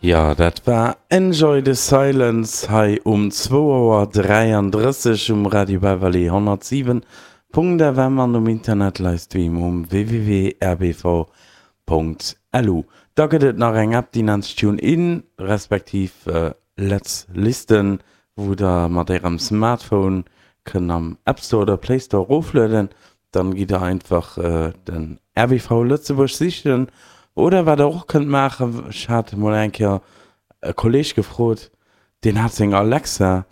Jo, dat war Enjoy the Silence hei um zwou Auer 33 um Radio Beverly 107.fm an um Internet Livestream um www.rbv.lu. Da gëtt et nach eng App, déi nennt sech TuneIn, respektiv Let's Listen, wou der mat ärem Smartphone kënnt am App Store oder Play Store eroflueden. Dann gitt der einfach den RBV Lëtzebuerg sichen. Oder wat der och kënnt maachen, ech hat emol eng Kéier e Kolleg gefrot, deen hat seng Alexa,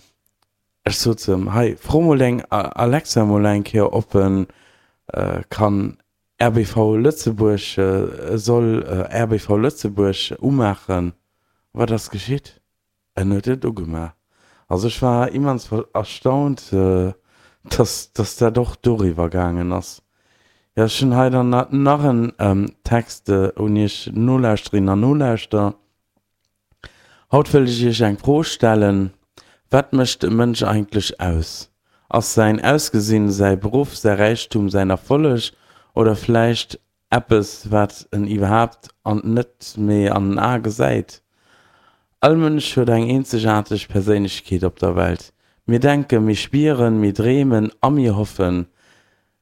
ech sot zu em, hei fro mol deng Alexa mol eng Kéier ob en kann RBV Lëtzebuerg, soll RBV Lëtzebuerg umaachen. Wat ass geschitt? En huet et ugemaach. Also ech war immens erstaunt, dass dass dat och doriwwer gaangen ass. Jo, ech hunn hei dann nach en Text un Iech Nolauschterinnen an Nolauschterer. Haut wëll ech Iech eng Fro stellen, Wat mécht e Mënsch eigentlech aus? Ass säin Ausgesinn, säi Beruff, säi Räichtum, säin Erfolleg oder vläicht Eppes, wat en iwwerhaapt an net méi an den Ae gesäit. All Mënsch huet eng eenzegaarteg Perséinlechkeet op der Welt. Mir denken, mir spieren, mir dreemen a mir hoffen.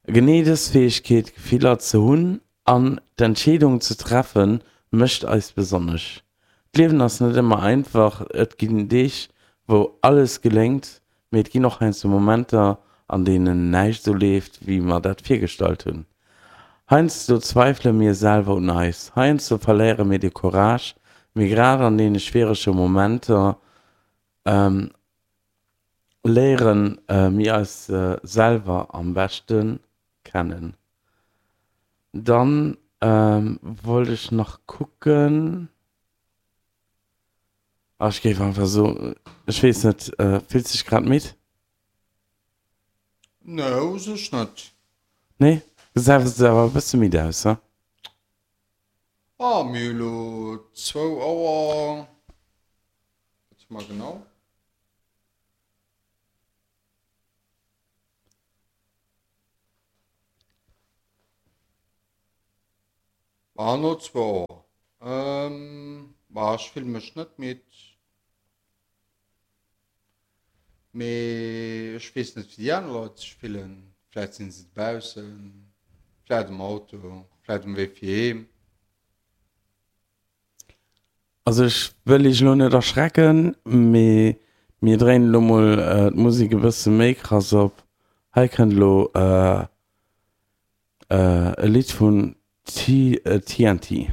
Genee dës Fäegkeet, Gefiller ze hunn an d'Entscheedung ze treffen, mécht eis besonnesch. D'Liewen ass net ëmmer einfach, et ginn Deeg, wou alles geléngt, Mee et ginn och heiansdo Momenter, an deenen näischt esou leeft, wéi mer dat virgestallt hunn. Heiansdo zweifele mir selwer un eis, heiansdo verléiere mir de Courage, mee grad an deene schwierege Momenter léiere mir eis selwer am beschte kennen. Dann wollt ech nach kucken. Ah, ech géif einfach so, ech weess net, fills dech grad midd? Nee, u sech net. Nee? Gesäis awer e bësse midd aus, he? Ah, mir hu lo zwou Auer, wat hu mer genau? Ah, no zwou Auer. Bah, ech fille mech net midd. Mee ech weess net, wéi déi aner Leit sech fillen. Vläit sinn se dobaussen, vläit am Auto, vläit um Wee fir heem. Also ech wëll iech elo net erschrecken, mee mir dréinen elo mol d'Musek e bësse méi krass op. Hei kënnt elo E Lidd vun TNT.